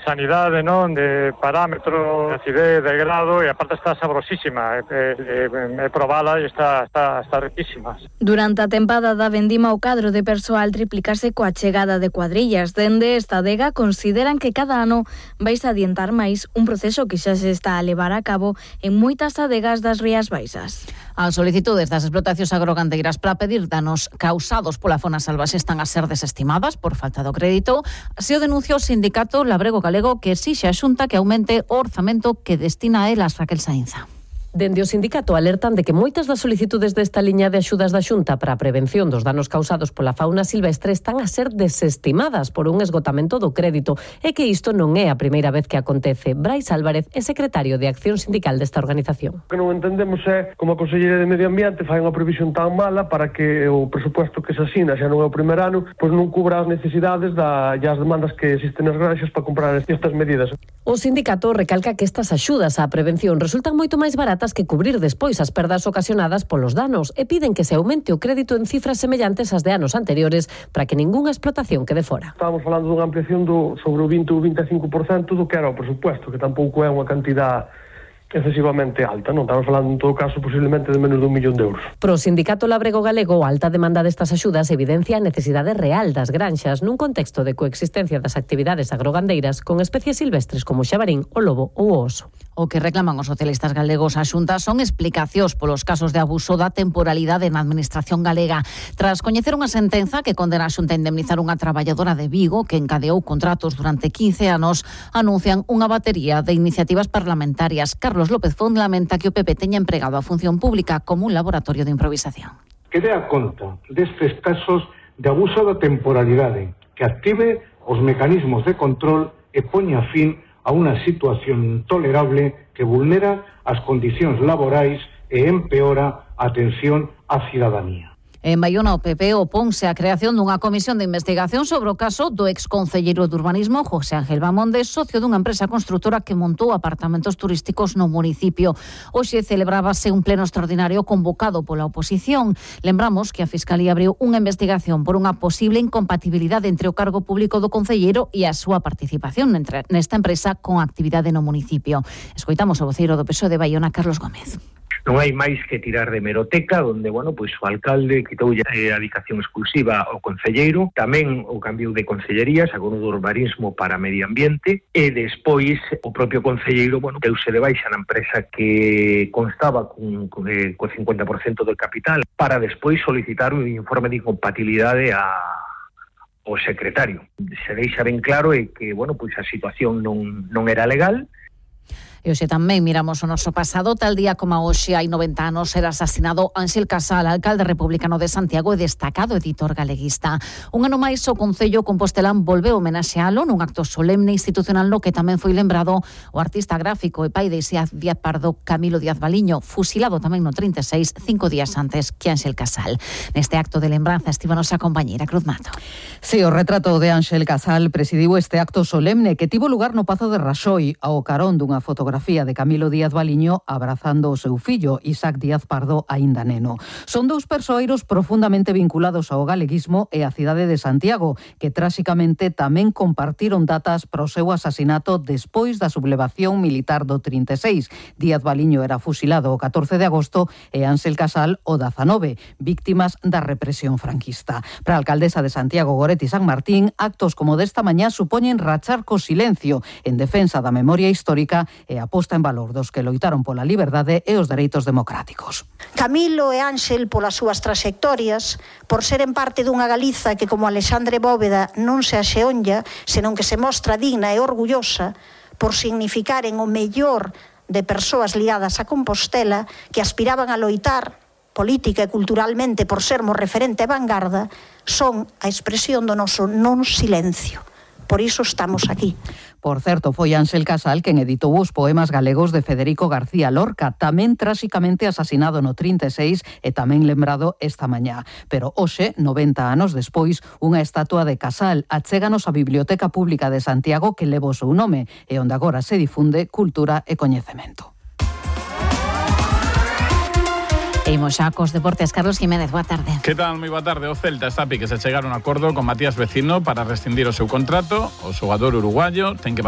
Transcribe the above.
Sanidade, non, de parámetro, de acidez, de grado, e aparte está sabrosísima, probala e está riquísima. Durante a tempada da vendima o cadro de persoal triplicase coa chegada de cuadrillas. Dende esta adega consideran que cada ano vais adiantar máis un proceso que xa se está a levar a cabo en moitas adegas das Rías Baixas. As solicitudes das explotacións agrogandeiras para pedir danos causados pola fauna salvaxe están a ser desestimadas por falta do crédito. Así o denuncia o sindicato Labrego Galego, que exixe a Xunta que aumente o orzamento que destina a elas. Raquel Sainza. Dende o sindicato alertan de que moitas das solicitudes desta liña de axudas da Xunta para a prevención dos danos causados pola fauna silvestre están a ser desestimadas por un esgotamento do crédito e que isto non é a primeira vez que acontece. Brais Álvarez é secretario de Acción Sindical desta organización. O que non entendemos é como a Consellería de Medio Ambiente fai unha previsión tan mala para que o presupuesto que se asina xa non é o primer ano, pois non cubra as necesidades e as demandas que existen nas granxas para comprar estas medidas. O sindicato recalca que estas axudas á prevención resultan moito máis baratas que cubrir despois as perdas ocasionadas polos danos e piden que se aumente o crédito en cifras semellantes ás de anos anteriores para que ningunha explotación quede fora. Estamos falando dunha ampliación sobre o 20 ou 25% do que era o presupuesto, que tampouco é unha cantidad excesivamente alta, non estamos falando en todo caso posiblemente de menos de 1 millón de euros. Pro sindicato Labrego Galego, a alta demanda destas axudas evidencia a necesidade real das granxas nun contexto de coexistencia das actividades agrogandeiras con especies silvestres como o xabarín, o lobo ou o oso. O que reclaman os socialistas galegos á Xunta son explicacións polos casos de abuso da temporalidade na administración galega. Tras coñecer unha sentenza que condena a Xunta a indemnizar unha traballadora de Vigo que encadeou contratos durante 15 anos, anuncian unha batería de iniciativas parlamentarias. Carlos López Font lamenta que o PP teña empregado a función pública como un laboratorio de improvisación. Que dea conta destes casos de abuso da temporalidade, que active os mecanismos de control e poña fin a unha situación intolerable que vulnera as condicións laborais e empeora a atención á cidadanía. En Baiona, o PP oponse á creación dunha comisión de investigación sobre o caso do exconcelleiro de urbanismo José Ángel Bamonde, socio dunha empresa construtora que montou apartamentos turísticos no municipio. Hoxe celebrábase un pleno extraordinario convocado pola oposición. Lembramos que a Fiscalía abriu unha investigación por unha posible incompatibilidade entre o cargo público do concelleiro e a súa participación nesta empresa con actividade no municipio. Escoitamos o voceiro do PSOE de Baiona, Carlos Gómez. Non hai máis que tirar de meroteca, onde, pois o alcalde quitoulle a dedicación exclusiva ao concelleiro, tamén o cambio de concellerías, agora do urbanismo para medio ambiente, e despois o propio concelleiro, deuse de baixa na empresa que constaba co 50% do capital, para despois solicitar un informe de incompatibilidade ao secretario. Se deixa ben claro que, pois a situación non era legal. E hoxe tamén miramos o noso pasado. Tal día como hoxe hai 90 anos era asasinado Ángel Casal, alcalde republicano de Santiago e destacado editor galeguista. Un ano máis o Concello compostelán volveu homenaxealo nun acto solemne institucional no que tamén foi lembrado o artista gráfico e pai de Díaz Pardo, Camilo Díaz Baliño, fusilado tamén no 36, 5 días antes que Ángel Casal. Neste acto de lembranza estivo a nosa compañeira Cruz Mato. Sí, o retrato de Ángel Casal presidiu este acto solemne que tivo lugar no Pazo de Raxoi ao carón dunha fotografía de Camilo Díaz Baliño abrazando o seu fillo, Isaac Díaz Pardo, aínda neno. Son dous persoeiros profundamente vinculados ao galeguismo e á cidade de Santiago, que tráxicamente tamén compartiron datas para o seu asasinato despois da sublevación militar do 36. Díaz Baliño era fusilado o 14 de agosto e Ángel Casal o 19, víctimas da represión franquista. Para a alcaldesa de Santiago, Goretti San Martín, actos como desta mañá supoñen rachar co silencio en defensa da memoria histórica e a posta en valor dos que loitaron pola liberdade e os dereitos democráticos. Camilo e Ángel, polas súas traxectorias, por seren parte dunha Galiza que, como Alexandre Bóveda, non se axeonlla, senón que se mostra digna e orgullosa, por significaren o mellor de persoas ligadas a Compostela que aspiraban a loitar política e culturalmente por sermos referente e vanguarda, son a expresión do noso non silencio. Por iso estamos aquí. Por certo, foi Ángel Casal quen editou os poemas galegos de Federico García Lorca, tamén tráxicamente asasinado no 36 e tamén lembrado esta mañá. Pero hoxe, 90 anos despois, unha estatua de Casal achéganos á Biblioteca Pública de Santiago que leva o seu nome e onde agora se difunde cultura e coñecemento. E imos xa cos deportes. Carlos Jiménez, boa tarde. Que tal? Moi boa tarde. O Celta está a pique se chegar a un acordo con Matías Vecino para rescindir o seu contrato. O xogador uruguayo ten que